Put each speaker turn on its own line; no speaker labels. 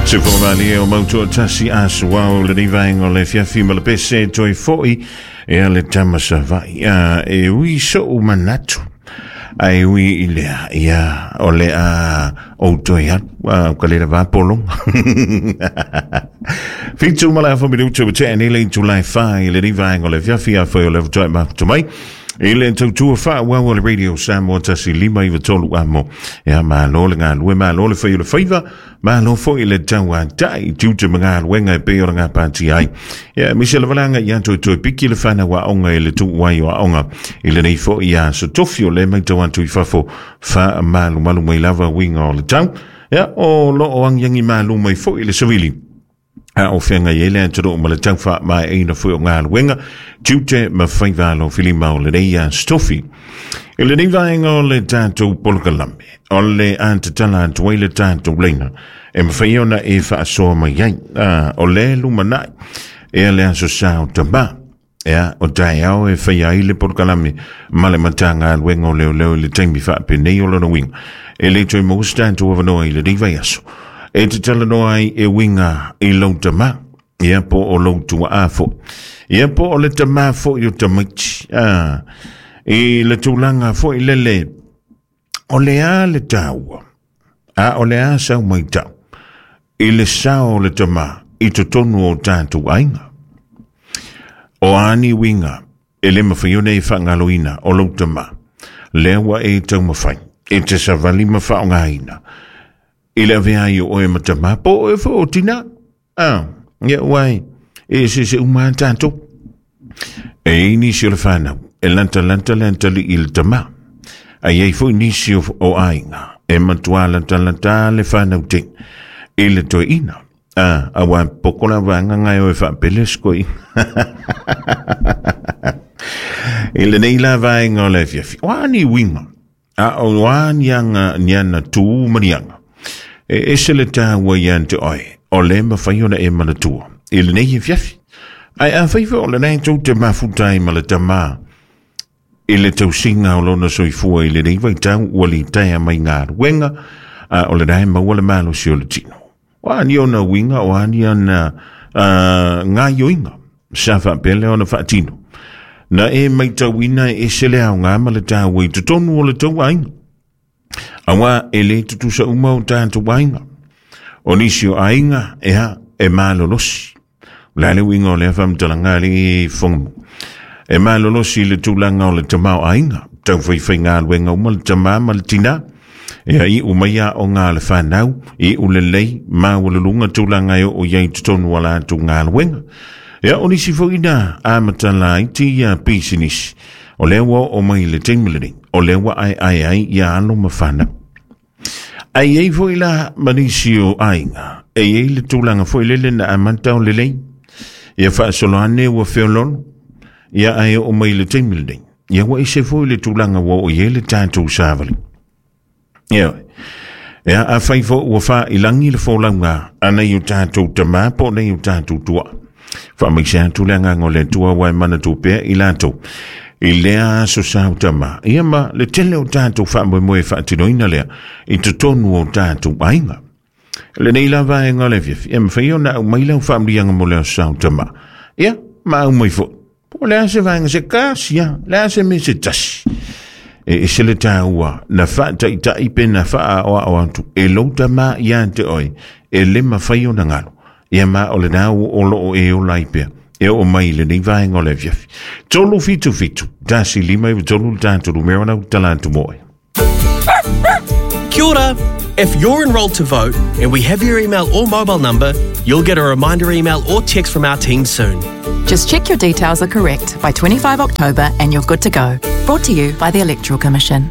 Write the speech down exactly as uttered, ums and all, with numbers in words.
Se whakamalie o mautua tasi asuau le rivaenga o le fiafi ma le pese toi foi e a le tamasavai a e ui so manatu ai ui i lea ia o le a o toi atu a ka le va polonga Fitu ma le afa minutu o te anele i tulai whai le rivaenga o le fiafi a whai o le whatoe maputu mai I le tautua wha wau o le radio Samoa tasi lima i tolu amo. Ia malo le ngā lue, malo le whai o le whaiva, malo foi le taua tai, tiute ma ngā luenga e peo ngā pāti ai. Ia misi le valanga ia toi toi piki le whana wa onga i le tuuai o aonga. I le nei fo ia so tofi o le mai tau atu i fafo wha malu malu mai lava winga o le tau. Ia o lo o angiangi malu mai fo i le savili. A o whenga i ele atoro ma le tauwha mai eina fui o ngā luenga, tiute ma whaiwalo filima o le reia stofi. I le vaenga o le tātou polokalame, o le antatala atuai le tātou leina, e mawhai ona e whaasoa mai ai, a, o le lumanai, e a le aso sao tama, e a o tai ao e whai ai le polokalame, ma le matanga luenga o leo leo i le taimi whaapenei o lona winga. E le toi mo tātou awanoa i le rivai aso. E te talanoa ai e winga i lau tama, ia po o lau tua afo. Ia po o le tama fo i o tamaiti. Ah, i le tūlanga fo i lele, o le a le taua, a o le a sau mai tau, i le sao o le tama, i te tonu o tātou ainga. O ani winga, e le mawhaione i whangaloina o lau tama, lewa e taumawhai, e te savali mawhaongaina. I le avea i o e matama po e fo o tina. Ah, ia wai, e se se uma tātou. E nisi o le whanau, e lanta lanta lanta li i le tama. Ai ei fo nisi o, o ainga, e matua lanta lanta le whanau te. I le toi ina. Ah, a wā poko la wanga ngai o e whapele skoi. I le nei la vaenga o le fiafi. Wā ni winga. A o wā nianga niana tū manianga. E ese le tāua i ante oe, o le mawhai ona e manatua, i le nei e fiafi. Ai a whaifa o le nei tau te mafutai ma le tamā, i le tausinga o lona soifua i le nei vai tau ua li taia mai ngā ruenga, a o le nei maua le malo si o le tino. O ani ona winga, o ani ana uh, ngā yoinga, sa whapele ona whaatino. Na e mai tauina e ese le au ngā ma le tāua i totonu o le tau ainga. Awa e le tutusa uma o tātou ainga. O nisi o ainga e ha e malolosi. O le uinga o le whamtalanga le whangamu. E malolosi le tūlanga o le tamau ainga. Tau whaiwhai ngā luenga uma le tamā ma le tina. E ha i umaia o ngā le whanau. I ulelei mā o le lunga tūlanga e o iai tutonu ala atu ngā luenga. E o nisi foina a matala iti ia pisinisi. O lewa o mai le teimilini. O lewa ai ai ai ia alo mawhana. Ai ei foi la manisi o ainga. E ei le tūlanga foi lele na amanta o lelei. Ia whaasoloane ua whiololo. Ia ai o mai le teimilini. Ia wa ise foi le tūlanga wa o ie le tātou sāvali. Ia Ia a whai fo ua wha ilangi le fōlaunga. Ana i o tātou tamā po nei o tātou tua. Wha mai se atu le nganga o le tua wai mana tūpea i lātou. I lea aso sao tama. Ia ma le tele o tātou wha moe whaatinoina lea. I te tonu o tātou ainga. Le nei la vaenga le fiafi. Ia mwhai o na au mai lau whaamrianga mo lea sao tama. Ia ma au mai fo. Po lea se vaenga se kasi ia. Lea se me se tasi. E ese le tāua. Na whaataitai pe na whaa o ao atu. E lou tama ia te oi. E le mawhai o na ngalo. Ia ma o le nau o lo o e o laipea. E o mai le nei vaenga o le fiafi. Tolu fitu fitu. Tasi lima i tolu tātou lumera nau talantu moe.
Kia ora. If you're enrolled to vote and we have your email or mobile number, you'll get a reminder email or text from our team soon.
Just check your details are correct by twenty-fifth October and you're good to go. Brought to you by the Electoral Commission.